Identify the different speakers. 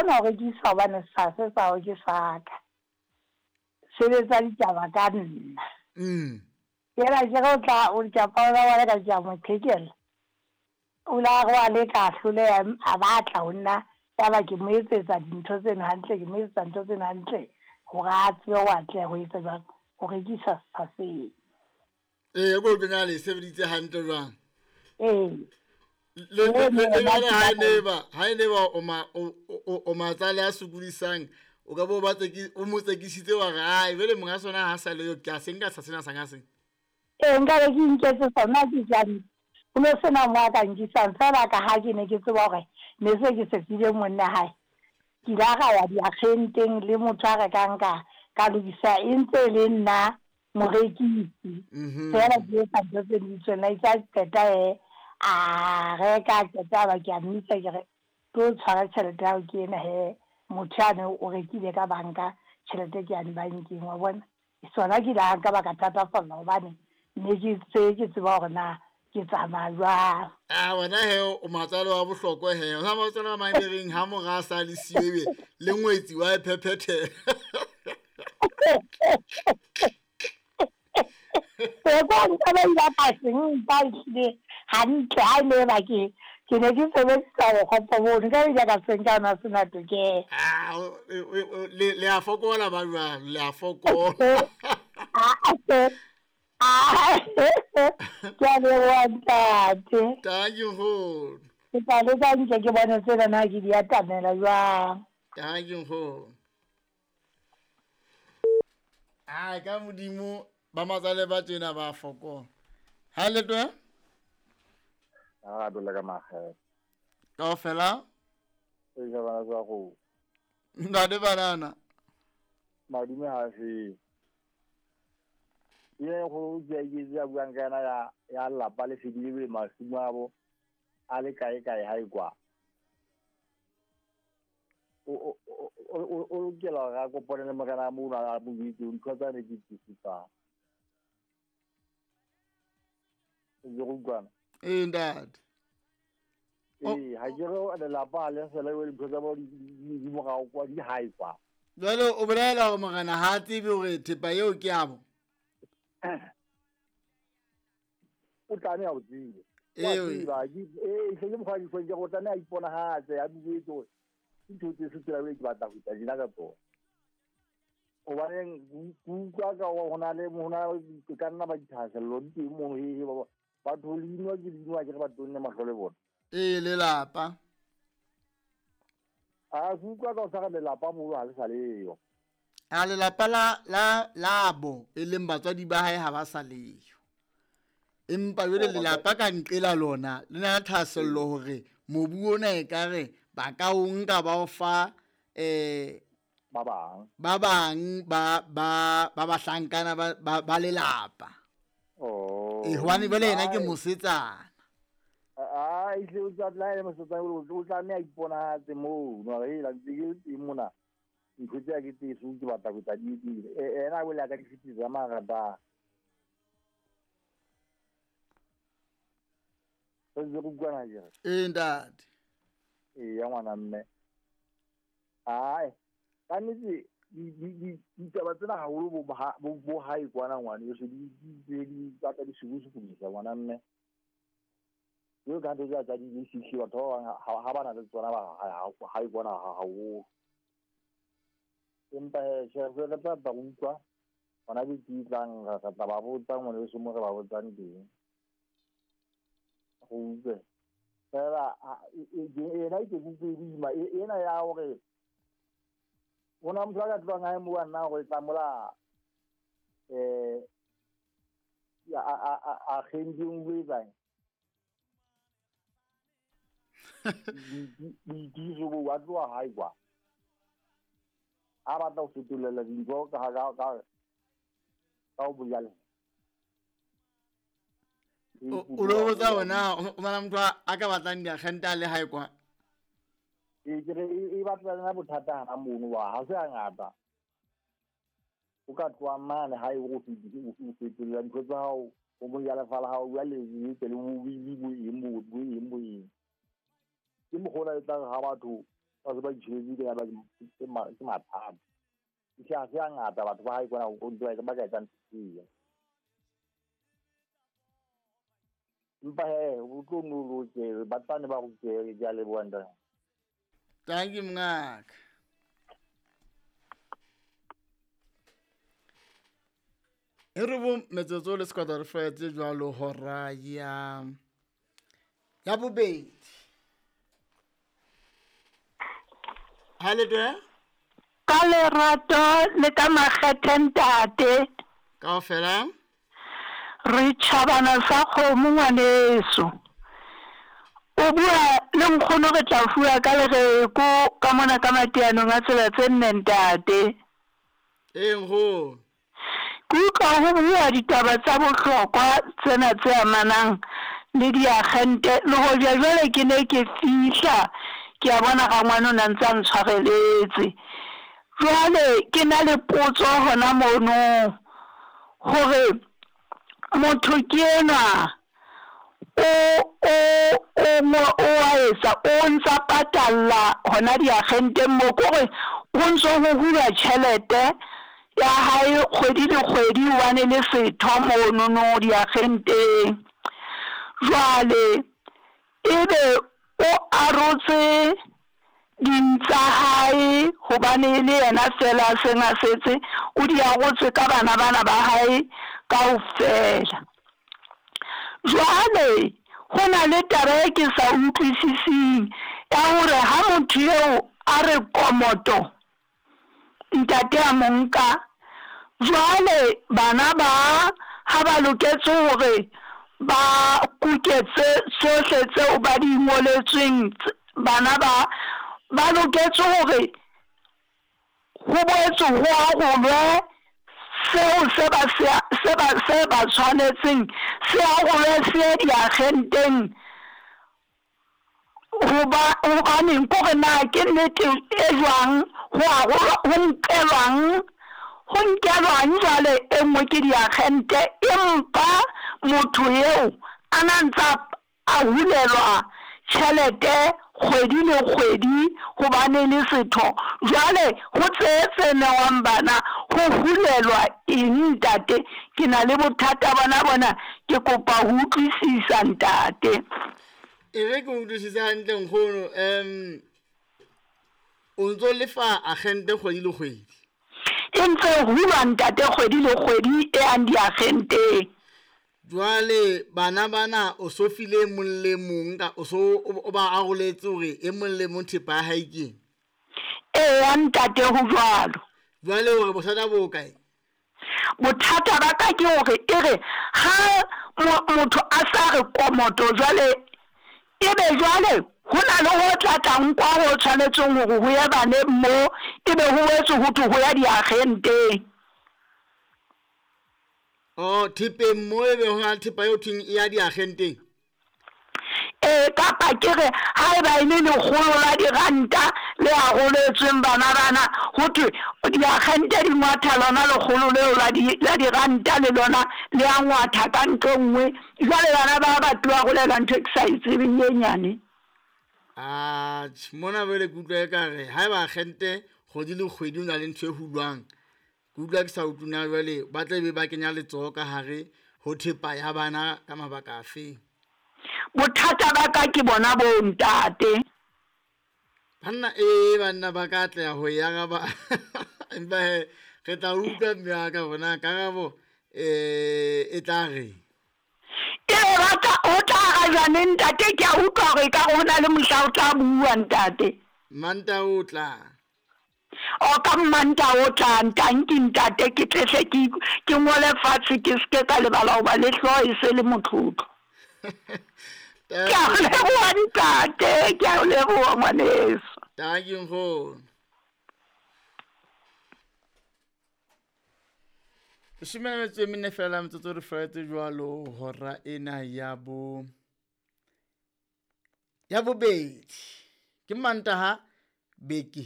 Speaker 1: kgona ho rekisa hobane setsha se sa hao ke sa ka. Sebetsa ditaba ka nna. Yena ke re o tla o ke a paola wa ka ke a mo qhekella. O la re wa leka a hloleha a batla ho nna ya ba ke mo etsetsa dintho tseno hantle ke mo etsetsa ntho tseno hantle hore a tsebe ho atleha ho etsa jwang ho rekisa setsha seo.
Speaker 2: Ee, ko kenya le sebeditse hantle jwang?
Speaker 1: Ee.
Speaker 2: Le le ha ne ba ha ne ba o ma o matsale a sokodisang o ka bo ba tseki o mo tsekisitse wa re ai jwale monga sona ha sa le yo ke a se nka sa sena sa nga seng.
Speaker 1: Ee, nka be ke inketse sona ke jang ho no sena mo a ka nkisang fela ka ha ke ne ke tseba hore ne se ke se file monna hae. Ke ile ra ya diakgenteng le motho a rekang ka ka lokisa e ntse e le nna morekisi. Fela ke etsa ntho tse di tswella itse a qeta he a reka a qeta ba ke a mmitsa ke re tlo tshwara tjhelete ya hao ke ena he motho yane o rekile ka banka tjhelete ke yane bankeng wa bona. Sona ke ile ka ba ka thatafalla hobane ne ke tse ke tseba hore na ke tsamaya jwang.
Speaker 2: A wena he o matsalo wa bohlokwa he. O sa matsalo a mang be reng ha mora a sa le siyo ebe le ngwetsi wa e phephethela.
Speaker 1: E kwa nka ba ile ka se nka ehlile hantle ha ne ba ke ke ne ke sebedisa bokgopo bono nka ile ka se nka ona sena tokelo.
Speaker 2: Ah, le a fokola ba jwalo, le a fokola.
Speaker 1: Ke a leboha ntate.
Speaker 2: Thank you nkgono.
Speaker 1: Ke tla leka nke ke bone tsena na ke di atamela jwang.
Speaker 2: Thank you nkgono. Ai ka modimo ba matsale ba tjena ba fokola. Ha le twe?
Speaker 3: A dole ka magela.
Speaker 2: Kaofela?
Speaker 3: E ja bana tsa go.
Speaker 2: Ntate banana.
Speaker 3: Madume ha se. Ye go ke ke ya buang ka yena ya ya lapa le fedile be masimo a bo a le kae kae ha e kwa. O o lokela ga kopane le morena mo a mo itse ntho tsa ne ke tsisitsa. Ke go utlwana.
Speaker 2: Ee ntate.
Speaker 3: Ee, ha ke re lelapa le sele le ntho tsa bo di morao kwa di hae kwa.
Speaker 2: Jwale o bolela hore morena ha a tsebe hore thepa eo ke ya bo.
Speaker 3: O tlameha ho tseba. Ee, ee, se ke mokgwa di ke go tlameha iponahatse a bue tso. Ntho tse se tsela ke batla ho tla dina ka tsona. Hobaneng ke utlwa ka ho na le hona ka nna ba dithahasello di teng mono he ba batho le inwa ke inwa ke re ba tonne mahlo le bona.
Speaker 2: Ee, lelapa.
Speaker 3: A ke utlwa ka o sa re lelapa moo ha le sa leyo.
Speaker 2: A lelapa la la labo e leng batswadi ba hae ha ba sa leyo. Empa jwale lelapa ka nqela lona le na le thahasello hore mobu ona ekare ba ka o nka ba o fa
Speaker 3: ba bang
Speaker 2: ba bang ba ba ba bahlankana ba ba lelapa.
Speaker 3: Oh.
Speaker 2: E hobane jwale yena ke mosetsana.
Speaker 3: A ehlile o tla tla mosetsana o tlameha iponahatse moo no re la ntse ke teng mona. Ntho tse ke tse ke batla go tla di dire. Ena o le ka di fitisa mara ba. Se go utlwana ke re.
Speaker 2: Ee ntate.
Speaker 3: Ee ya ngwana mme. Ai, ka nnete ditaba tsena haholo bo bo hae kwana ngwana yo se di di batla di sukusukumisa ngwana mme. Yo ka ntho tsa di fihle batho ba ha ba na le tsona ba hae kwana haholo. Empa he she re tla ba utlwa hona ke tlang re tla ba botsa ngwana yo mo re ba botsang teng. Go utlwe. Fela ena ke kutlwe boima ena ya hore ona motho a ka tlohang hae mo nna go tla mola ya a kgending o etsang. Boitiso bo wa tloha hae kwa. A batla ho fetolela dintho ka ka ka ka ho bojale.
Speaker 2: O lo botsa hona o na motho a ka batlang diakgente a le hae kwa.
Speaker 3: Ee ke re e batla lena bothata hana mono wa ha se hangata. O ka tloha mane hae o fetolela dintho tsa hao o bojale fala hao jwale le tle le bo bo eng bo eng bo eng. Ke mokgona e tla ha batho Ba se ba itjhebetse ke ba ke mathata. Ke a se a ngata batho ba hae kwana o ntse ba ka etsang tseo. Empa he o tlo no loke ba tla ne ba rute ke a leboha ntate.
Speaker 2: Thank you mongaka. E re bo metsotso le sekwata re fetse jwalo hora ya bobedi. Ha le teng?
Speaker 1: Ka lerato le ka makgethe ntate.
Speaker 2: Kaofela?
Speaker 1: Re tjhabana sa kgomo ngwaneso. O bua le nkgono re tla fuwa ka lereko ka mona ka mateanong a tsela tse nne ntate.
Speaker 2: Ee nkgono.
Speaker 1: Ke utlwa ho bua ditaba tsa bohlokwa tsena tse amanang le diagente le hoja jwale ke ne ke fihla ke a bona rangwane o ne a ntse a ntshwareletse. Jwale ke na le potso hona mono hore motho ke enwa o a etsa o ntsa patalla hona diagenteng mo kore ho ntso ho hulwa tjhelete ya hae kgwedi le kgwedi hobane le setho monono diagenteng. Jwale ebe o arotse ding tsa hae hobane le yena fela a seng a setse o di arotse ka bana bana ba hae kaofela. Jwale ho na le taba e ke sa utlwisising ya hore ha motho eo a re komoto ntate a mo nka jwale bana ba ha ba loketse hore ba kuketse tsohle tseo ba di ngoletsweng bana ba loketse hore ho boetse ho arolwe seo se ba tshwanetseng se arolwe se diagenteng hobaneng kore na ke nnete e jwang ho arolwa ho nkelwang jwale e nngwe ke diagente empa motho eo a na ntsa a hulelwa tjhelete kgwedi le kgwedi hobane le setho. Jwale ho tse newang bana ho hulelwa eng ntate? Ke na le bothata bona ke kopa ho utlwisisa ntate.
Speaker 2: E re ke utlwisise hantle nkgono. O ntso lefa agente kgwedi le kgwedi?
Speaker 1: E ntse hulwa ntate kgwedi le kgwedi e yang diagenteng.
Speaker 2: Jwale bana bana o so file mong le mong ka o so o ba aroletse hore e mong le mong thepa ya hae ke eng?
Speaker 1: Eya ntate ho jwalo.
Speaker 2: Jwale hore bothata bo kae?
Speaker 1: Bothata ba ka ke hore e re ha motho a sa re komoto jwale ebe jwale ho na le ho tla tlang kwa ho tshwanetseng hore ho ye baneng mo ebe ho boetse ho thwe ho ya diagenteng.
Speaker 2: Oh, thepeng mo ebe ho na le thepa eo thweng e ya diagenteng?
Speaker 1: Ee, kapa ke re haeba e le lekgolo la diranta le aroletsweng bana bana ho thwe diagente di ngwatha lona lekgolo leo la diranta le lona le a ngwatha ka ntho e nngwe. Jwale bana ba ba tlo arolela ntho e ke sa e tsebeng e nyane.
Speaker 2: Atjhe, mona jwale ke utlwa ekare haeba agente kgwedi le kgwedi o na le ntho e hulwang, ke utlwa ke sa utlwe na jwale ba tla be ba kenya letsoho ka hare ho thepa ya bana ka mabaka afe?
Speaker 1: Bothata ba ka ke bona bo ntate.
Speaker 2: Banna ee banna ba ka atleha ho e araba. Empa he re tla utlwa mme wa ka bona karabo e tla re.
Speaker 1: Ee ho tla arajwa neng ntate? Ke a utlwa hore ekare ho na le mohla o tla bua ntate.
Speaker 2: Manta o tla.
Speaker 1: O ka mmanta o tla ntanki ntate ke tlehle ke ngole fatshe ke seke ka lebala hoba le hlooho e se le motlotlo. Ke a leboha ntate, ke a leboha ngwaneso.
Speaker 2: Thank you nkgono. Leshome le metso e mene fela metsotso re fetse jwalo hora ena ya bobedi. Ke Mantaha beke.